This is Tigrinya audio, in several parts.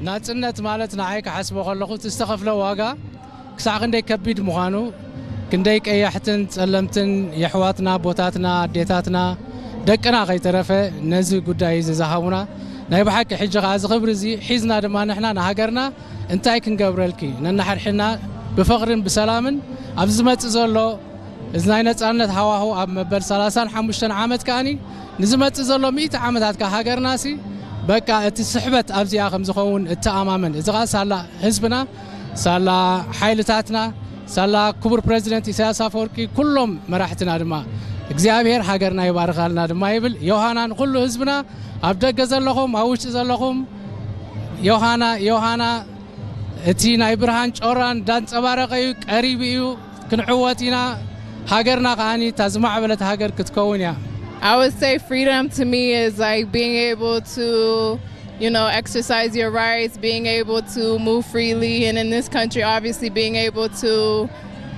ናጽነት ማለት ንዓይ ክሓስቦ ከለኹ እቲ ዝተኸፍለ ዋጋ ክሳዕ ክንደይ ከቢድ ምዃኑ፣ ክንደይ ቀያሕትን ጸለምትን የሕዋትና፣ ኣቦታትና፣ ኣዴታትና፣ ደቅና ከይተረፈ ነዚ ጉዳይ እዚ ዝሃቡና፣ ናይ ብሓቂ ሕጂ ኸዓ እዚ ክብሪ እዚ ሒዝና ድማ ንሕና ንሃገርና እንታይ ክንገብረልኪ ነናሓድሕድና ብፍቕርን ብሰላምን ኣብዚ ዝመጽእ ዘሎ እዚ ናይ ነጻነት ሃዋሁ ኣብ መበል ሰላሳን ሓሙሽተን ዓመት ከኣኒ ንዝመጽእ ዘሎ ሚእቲ ዓመታት ከኣ ሃገርናሲ በቃ እቲ ስሕበት ኣብዚኣ ከም ዝኸውን እተኣማመን። እዚ ኸኣ ሳላ ህዝብና፣ ሳላ ሓይልታትና፣ ሳላ ክቡር ፕረዚደንት ኢሳያስ ኣፈወርቂ፣ ኩሎም መራሕትና ድማ እግዚኣብሔር ሃገርና ይባርኻልና ድማ ይብል። ዮሃና ንኹሉ ህዝብና፣ ኣብ ደገ ዘለኹም፣ ኣብ ውሽጢ ዘለኹም፣ ዮሃና፣ ዮሃና፣ እቲ ናይ ብርሃን ጮራ እንዳንጸባረቐ እዩ፣ ቀሪቡ እዩ። ክንዕወት ኢና። ሃገርና ከኣኒ እታ ዝማዕበለት ሃገር ክትከውን እያ። I would say freedom to me is like being able to, you know, exercise your rights, being able to move freely, and in this country, obviously, being able to,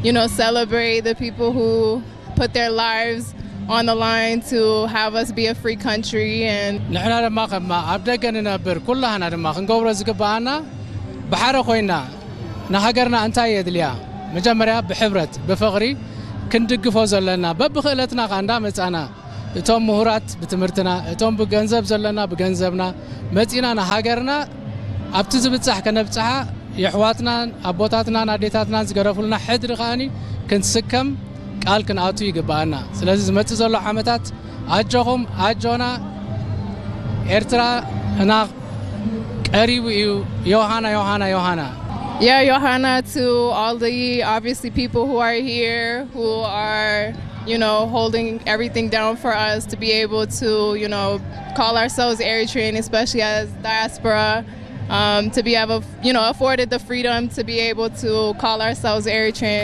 you know, celebrate the people who put their lives on the line to have us be a free country. And ንሕና ድማ ከማ ኣብ ደገ ንነብር ኩላህና ድማ ክንገብሮ ዝግባኣና ብሓደ ኮይና ንሃገርና እንታይ የድልያ፣ መጀመርያ ብሕብረት ብፍቕሪ ክንድግፎ ዘለና፣ በብኽእለትና ከኣ እንዳመጻና፣ እቶም ምሁራት ብትምህርትና፣ እቶም ብገንዘብ ዘለና ብገንዘብና መጺና ንሃገርና ኣብቲ ዝብጻሕ ከነብጽሓ፣ የሕዋትናን ኣቦታትናን ኣዴታትናን ዝገደፉልና ሕድሪ ከኣኒ ክንስከም ቃል ክንኣቱ ይግባኣና። ስለዚ ዝመጽእ ዘሎ ዓመታት ኣጆኹም፣ ኣጆና፣ ኤርትራ እና ቀሪቡ እዩ። ዮሃና፣ ዮሃና፣ ዮሃና። Yeah, Johanna, to all the obviously people who are here, who are, you know, holding everything down for us to be able to, you know, call ourselves Eritrean, especially as diaspora, um, to be able, you know, afforded the freedom to be able to call ourselves Eritrean.